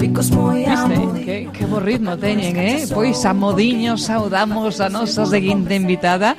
ficos moi Viste, que bo ritmo teñen, Pois a modiño saudamos a nosa seguinte invitada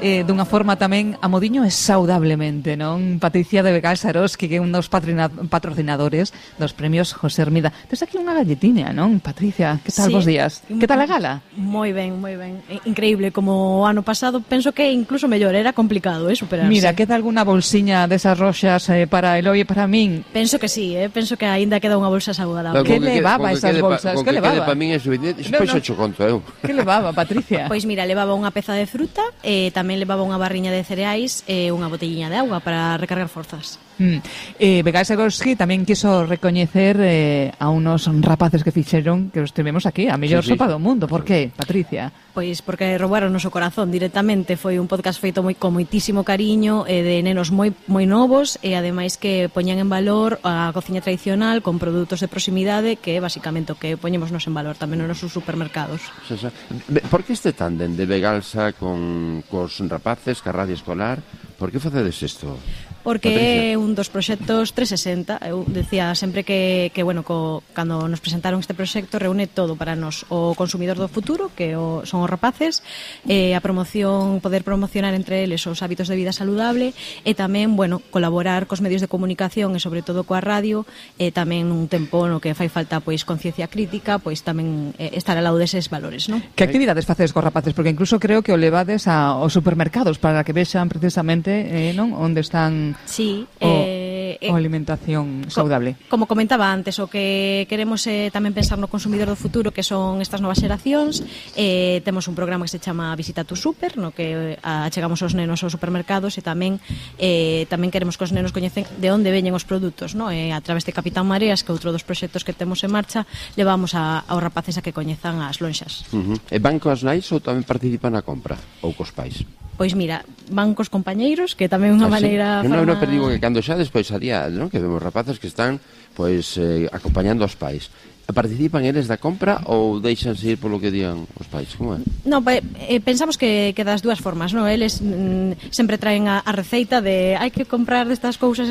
dunha forma tamén a modiño e saudablemente, non? Patricia de Begal Saroski, que é un dos patrocinadores dos premios José Hermida. Tes aquí unha galletiña, non? Patricia, que tal vos días? Que tal a gala? Moi ben, moi ben. Increíble, como o ano pasado, penso que incluso mellor, era complicado, superarse. Mira, queda alguna bolsiña desas roxas para Eloi e para min? Penso que sí, penso que aínda queda unha bolsa saudable. Que levaba esas bolsas? Que levaba? Para min é suficiente, despois xo conto eu. Que levaba, Patricia? Pois mira, levaba unha peza de fruta e tamén levaba unha barriña de cereais e unha botelliña de auga para recargar forzas. Begal Saroski tamén quiso recoñecer a unos rapaces que fixeron que os tivemos aquí, a mellor sopa do mundo. Por que, Patricia? Pois porque roubaron o noso corazón directamente. Foi un podcast feito con moitísimo cariño, de nenos moi novos, e ademais que poñan en valor a cociña tradicional con produtos de proximidade, que é basicamente o que poñemos nos en valor tamén nos nosos supermercados. Por que este tándem de Begalsa cos rapaces, ca radio escolar? Por que facedes isto? Porque é un dos proxectos 360. Eu decía sempre que bueno, cando nos presentaron este proxecto reúne todo para nos, o consumidor do futuro, que son os rapaces, a promoción, poder promocionar entre eles os hábitos de vida saludable, e tamén, bueno, colaborar cos medios de comunicación e sobre todo coa radio, e tamén un tempo no que fai falta pois conciencia crítica, pois tamén estar ao lado deses valores, non? Que actividades facedes cos rapaces? Porque incluso creo que o levades aos supermercados para que vexan precisamente, non, onde están sí, o alimentación saudable. Como comentaba antes, o que queremos é tamén pensar no consumidor do futuro, que son estas novas xeracións. Temos un programa que se chama Visita tu Super, no que achegamos os nenos aos supermercados, e tamén queremos que os nenos coñecen de onde veñen os produtos, no? A través de Capitán Mareas, que é outro dos proxectos que temos en marcha, levamos aos rapaces a que coñezan as lonxas. E van coas nais ou tamén participan na compra? Ou cos pais? Pois mira, van cos compañeiros, que tamén é unha maneira... Non, pero digo que cando xa despois a día, non? Que vemos rapaces que están pois acompañando aos pais. Participan eles da compra ou deixanse ir polo que digan os pais? Como é? No, pensamos que das dúas formas, non? Eles sempre traen a receita de hai que comprar estas cousas,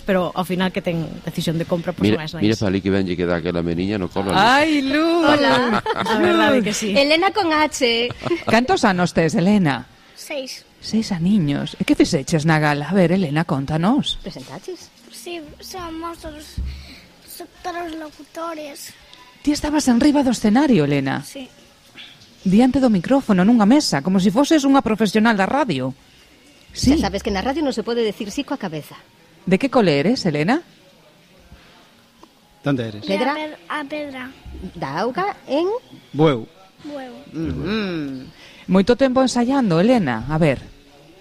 pero ao final que ten decisión de compra, pois máis nais. Mira Fali que venlle que dá aquela meniña no colo. Ai, Luz! Hola. A verdade que sí. Elena con H. Cantos anos tes, Elena? 6. 6 aniños. E que fixeches na gala? A ver, Elena, contanos. Presentaches? Sí, somos os locutores. Ti estabas enriba do escenario, Elena. Sí. Diante do micrófono, nunha mesa, como se foses unha profesional da radio. Sí. Xa sabes que na radio non se pode decir sí coa cabeza. De que cole eres, Elena? Onde eres? Pedra. A Pedra. Da auga en... Bueu. Moito tempo ensaiando, Elena. A ver,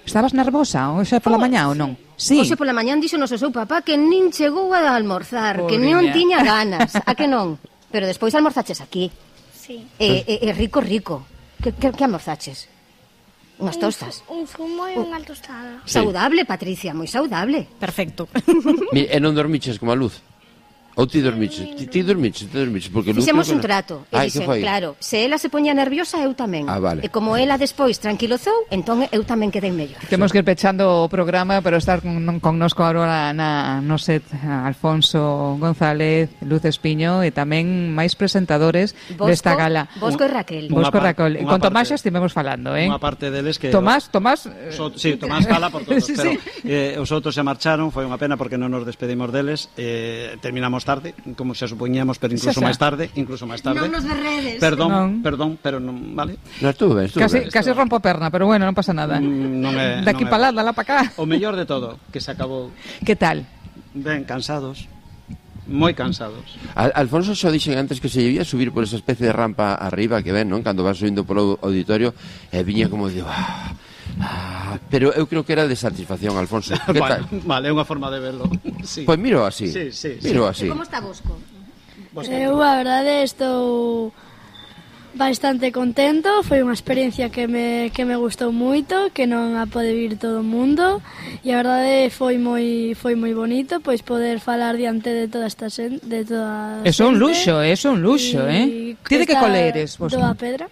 estabas nervosa hoxe pola mañá ou non? Sí. Hoxe pola mañán dixonos o seu papá que nin chegou a almorzar, que non tiña ganas. A que non? Pero despois almorzaches aquí. Sí. E rico. Que almorzaches? Unhas tostas. Un zumo e unha tostada. Saudable, Patricia, moi saudable. Perfecto. E non dormiches como a Luz? Ou ti dormiches? Ti dormiches, porque fixemos un trato. E dixen, claro, se ela se poña nerviosa, eu tamén. Vale. E como ela despois tranquilozou, entón eu tamén quedei mellor. Temos que ir pechando o programa, pero estar connosco agora no set Alfonso González, Luz Espiño e tamén máis presentadores desta gala. Bosco e Raquel. Con Tomás xa estivemos falando, Unha parte deles que... Tomás... Sí, Tomás fala por todos, pero os outros se marcharon, foi unha pena porque non nos despedimos deles, terminamos tarde, como xa supoñíamos, pero incluso máis tarde. Non nos berredes. Perdón, pero non, vale. Non, estuvo ben. Casi rompo a perna, pero bueno, non pasa nada. De aquí para lá, para cá. O mellor de todo, que se acabou. Que tal? Ben, cansados. Moi cansados. Alfonso xo dixen antes que se debía subir por esa especie de rampa arriba que ven, non? Cando vas subindo polo auditorio, viña como de... pero eu creo que era de satisfacción, Alfonso. Que tal? Vale, é unha forma de verlo. Sí. Pois miro así. Sí. Miro así. E como está Bosco? Eu, a verdade, estou bastante contento. Foi unha experiencia que me gustou moito, que non a pode vir todo o mundo, e a verdade foi moi bonito pois poder falar diante de toda esta xente, de toda Eso é un luxo, Ti de que cole eres? Do a Pedra.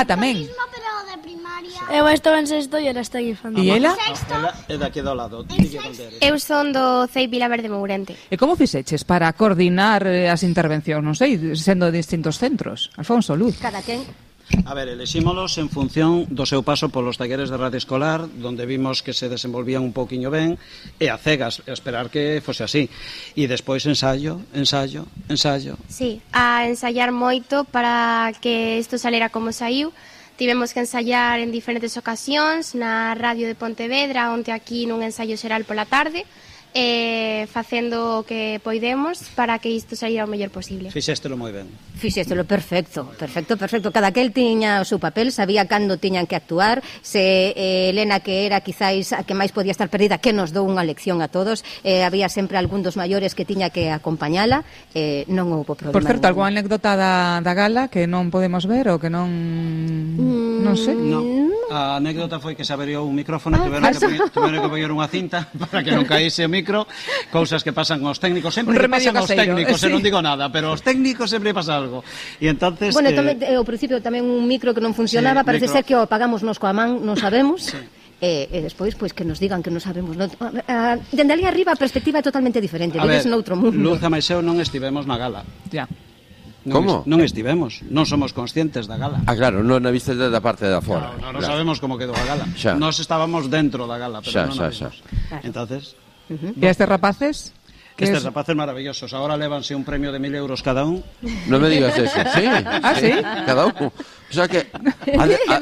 Tamén. Pero de primaria. Eu estou en sexto e ela está en infantil. E ela? Ela é daqui do lado. Eu son do CEI Vilaverde Mourente. E como fixeches para coordinar as intervencións, non sei, sendo de distintos centros? Alfonso, Luz. Cada quen. A ver, elexímolos en función do seu paso polos talleres de radio escolar, donde vimos que se desenvolvían un pouquiño ben, e a cegas, esperar que fose así. E despois ensayo. Sí, a ensayar moito para que isto salera como saiu. Tivemos que ensayar en diferentes ocasións na radio de Pontevedra, onte aquí nun ensayo xeral pola tarde, facendo o que poidemos para que isto saíra o mellor posible. Fixéstelo moi ben. Fixéstelo perfecto. Cada aquel tiña o seu papel, sabía cando tiñan que actuar, se Elena, que era quizáis a que máis podía estar perdida, que nos dou unha lección a todos, había sempre algún dos maiores que tiña que acompañala, non houve problema. Por certo, algunha anécdota da gala que non podemos ver ou que non... non sei. No. A anécdota foi que se averiou un micrófono e tiveron que poñer unha cinta para que non caíse o micro, cousas que pasan aos técnicos, sempre que pasan aos técnicos, sí. Non digo nada, pero aos técnicos sempre pasa algo. E entonces Bueno, ao principio tamén un micro que non funcionaba, sí, parece micro. ser que o apagamos nos coa man, non sabemos. Sí. E despois, pois, que nos digan que non sabemos. Dende ali arriba a perspectiva é totalmente diferente, vives noutro mundo. Luz e Maiseu non estivemos na gala. Ya. Como? Non estivemos, non somos conscientes da gala. Ah, claro, non a vista da parte da fora. Non claro. sabemos como quedou a gala. Xa. Nós estábamos dentro da gala, pero non a Xa. vimos. Entonces, E estes rapaces? estes rapaces maravillosos, ahora lévanse un premio de 1.000 euros cada un. Non me digas eso. Sí. Ah, sí? Cada un. O sea que...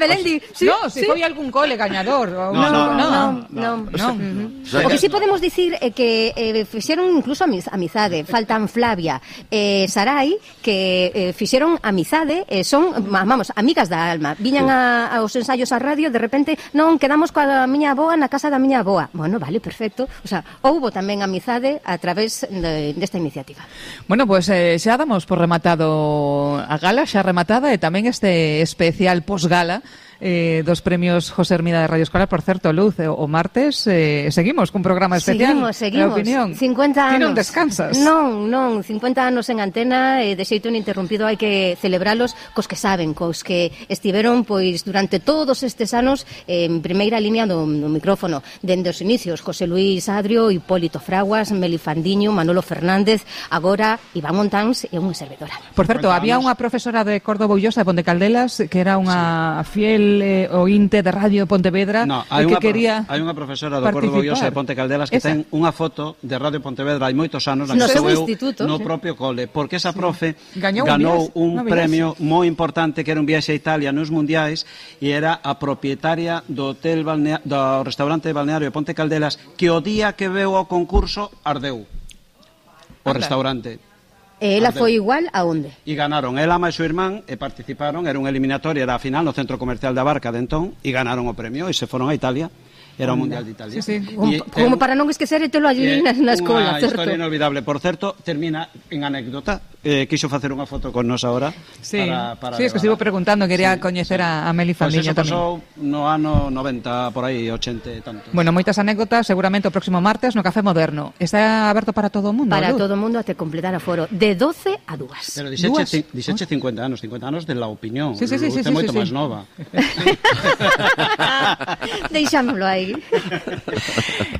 Belén di, sí, No, se foi algún cole gañador. Non. O que sí podemos dicir é que fixeron incluso amizade. Faltan Flavia e Sarai, que fixeron amizade, son, vamos, amigas da alma. Viñan aos ensaios á radio, de repente, non, quedamos coa miña avoa na casa da miña avoa. Bueno, vale, perfecto. O sea, houbo tamén amizade a través desta iniciativa. Bueno, pues xa damos por rematado a gala, xa rematada, e tamén este especial posgala dos premios José Hermida de Radio Escolar. Por certo, Luz, o martes seguimos cun programa especial. Seguimos. Opinión. 50 anos. Ti non descansas. Non, 50 anos en antena, de xeito ininterrumpido, hai que celebralos cos que saben, cos que estiveron pois durante todos estes anos en primeira línea do micrófono, dende os inicios, José Luis Adrio, Hipólito Fraguas, Meli Fandiño, Manolo Fernández, agora Iván Montáns e unha servidora. Por certo, había unha profesora de Córdoba Ullosa de Ponte Caldelas que era unha fiel ointe de Radio Pontevedra, hai que quería hai unha profesora do Córdoba Ullosa de Ponte Caldelas que ten unha foto de Radio Pontevedra hai moitos anos na que estou eu no propio cole, porque esa profe ganou un premio moi importante que era un viaxe a Italia nos mundiais e era a propietaria do hotel do restaurante balneario de Ponte Caldelas, que o día que veu ao concurso ardeu o restaurante. E ela foi igual a onde? E ganaron ela máis o irmán e participaron, era un eliminatorio, era a final no Centro Comercial da Barca de entón, e ganaron o premio e se foron a Italia. Era o Mundial de Italia. Sí. Como para non esquecer e telo allí na escola, certo? certo? Unha historia inolvidable. Por certo, termina en anécdota. Quixo facer unha foto con nos ahora. Sí, para es que estivo preguntando, quería coñecer a Meli Fandiño tamén. Pois eso pasou no ano 90, por aí, 80 e tanto. Bueno, moitas anécdotas, seguramente o próximo martes no Café Moderno. Está aberto para todo o mundo, Para Luz? todo o mundo até completar a foro. De 12 a 2. Pero dixeche 50 anos de la opinión. Sí. É moito máis nova. Deixámoslo aí.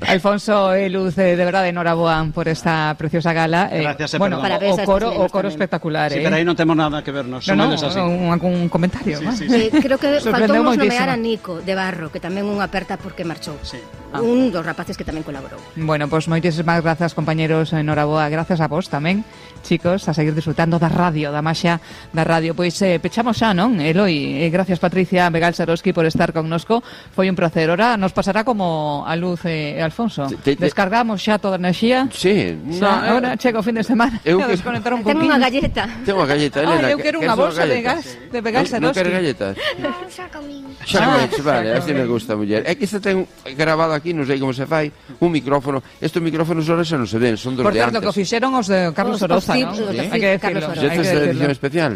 Alfonso e Luz, de verdade, enhoraboa por esta preciosa gala. Gracias, bueno, parabéns a o coro tamén. espectacular. Sí, pero aí non temos nada que vernos. Un comentario. Sí. Creo que Sorprendeu faltounos moitísimo. nomear a Nico de Barro, que tamén unha aperta porque marchou. Sí. Un dos rapaces que tamén colaborou. Bueno, pues moitísimas grazas, compañeros, enhoraboa. Gracias a vos tamén, chicos, a seguir disfrutando da radio, da maxia da radio. Pois pechamos xa, non, Eloi? Gracias, Patricia Begal Saroski, por estar connosco. Foi un placer. Ora nos pasará como a Luz e Alfonso. Descargamos xa toda a enerxía. Sí. Ahora chega o fin de semana. Eu A desconectar un Ten poquinho. unha galleta. Ten unha galleta, Elena. Eu quero unha bolsa de gas de Begal Non Saroski. queres galletas? Non, xa comín. Vale, así me gusta, muller. É que esta ten grabado aquí, non sei como se fai, un micrófono. Estes micrófonos ahora xa non se ven, son dos Por de certo, antes. que o fixeron os de Carlos Oroza, non? Os de Hai que Carlos decirlo. Oroza. Esta é a edición especial.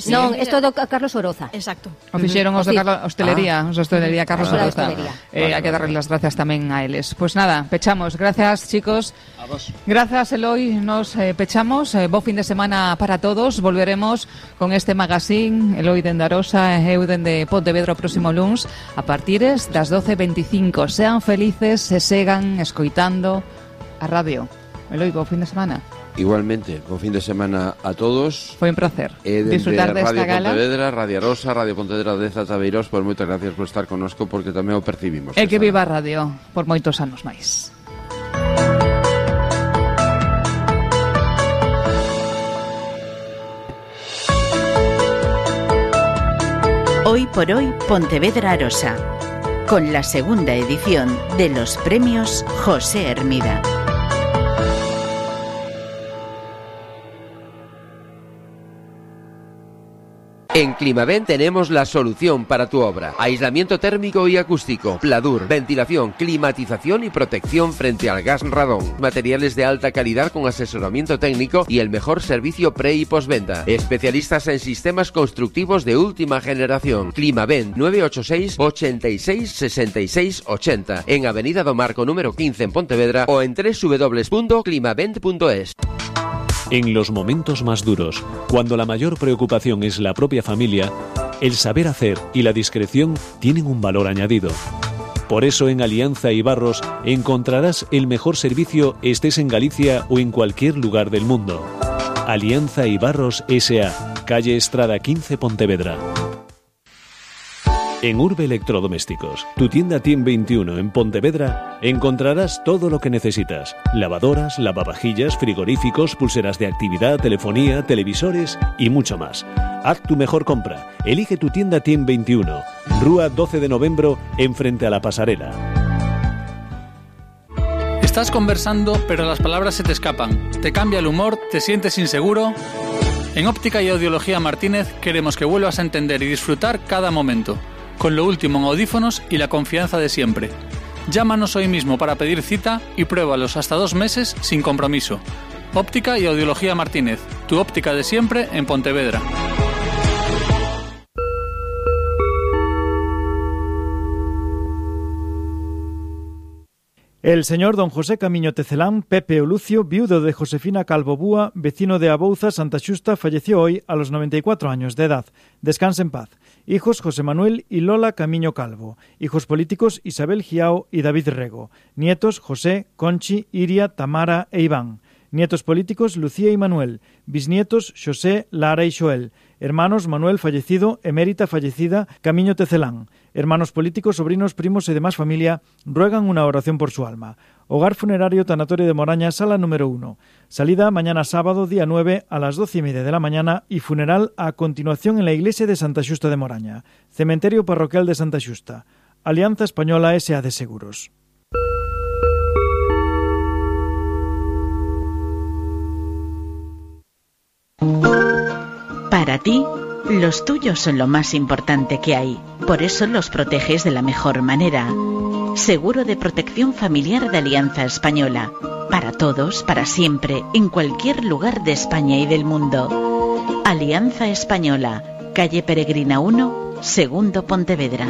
Non, isto do Carlos Oroza. Exacto. O fixeron os de hostelería, os de hostelería Carlos Oroza. Hai que darles as gracias tamén a eles. Pois nada, pechamos. Gracias, chicos. A vos. Gracias, Eloi. Nos pechamos. Bo fin de semana para todos. Volveremos con este magazine, Eloi dende Arosa e eu dende Pontevedra o próximo luns a partires das 12:25. Sean felices e segan escoitando a radio. Eloi, bo fin de semana. Igualmente, bo fin de semana a todos. Foi un placer disfrutar desta Radio gala. Pontevedra, Radio Arosa, Radio Pontevedra de Zatabeirós, pues moitas gracias por estar connosco porque tamén o percibimos. E que viva a radio por moitos anos máis. Hoy por hoy Pontevedra Arosa, con la segunda edición de los premios José Hermida. En Climaven tenemos la solución para tu obra. Aislamiento térmico y acústico, pladur, ventilación, climatización y protección frente al gas radón. Materiales de alta calidad con asesoramiento técnico y el mejor servicio pre y postventa. Especialistas en sistemas constructivos de última generación. Climaven 986 86 66 80 en Avenida do Marco número 15 en Pontevedra o en www.climavent.es. En los momentos más duros, cuando la mayor preocupación es la propia familia, el saber hacer y la discreción tienen un valor añadido. Por eso en Alianza Ibarros encontrarás el mejor servicio estés en Galicia o en cualquier lugar del mundo. Alianza Ibarros S.A., calle Estrada 15, Pontevedra. En Urbe Electrodomésticos, tu tienda TIEM 21 en Pontevedra, encontrarás todo lo que necesitas. Lavadoras, lavavajillas, frigoríficos, pulseras de actividad, telefonía, televisores y mucho más. Haz tu mejor compra. Elige tu tienda TIEM 21, Rúa 12 de Novembro, enfrente a la pasarela. Estás conversando, pero las palabras se te escapan. Te cambia el humor, te sientes inseguro. En Óptica y Audiología Martínez queremos que vuelvas a entender y disfrutar cada momento, con lo último en audífonos y la confianza de siempre. Llámanos hoy mismo para pedir cita y pruébalos hasta 2 meses sin compromiso. Óptica y Audiología Martínez, tu óptica de siempre en Pontevedra. El señor don José Camiño Tecelán, Pepe o Lucio, viudo de Josefina Calvo Búa, vecino de Abouza, Santa Xusta, falleció hoy a los 94 años de edad. Descanse en paz. Hijos José Manuel y Lola Camiño Calvo. Hijos políticos Isabel Giao y David Rego. Nietos José, Conchi, Iria, Tamara e Iván. Nietos políticos Lucía y Manuel. Bisnietos Xosé, Lara y Xoel. Hermanos Manuel fallecido, Emérita fallecida, Camiño Tecelán. Hermanos políticos, sobrinos, primos y demás familia ruegan una oración por su alma. Hogar funerario Tanatorio de Moraña, sala número 1. Salida mañana sábado, día 9, a las 12:30 de la mañana y funeral a continuación en la iglesia de Santa Xusta de Moraña. Cementerio parroquial de Santa Xusta. Alianza Española S.A. de Seguros. Para ti, los tuyos son lo más importante que hay. Por eso los proteges de la mejor manera. Seguro de protección familiar de Alianza Española. Para todos, para siempre, en cualquier lugar de España y del mundo. Alianza Española, calle Peregrina 1, segundo Pontevedra.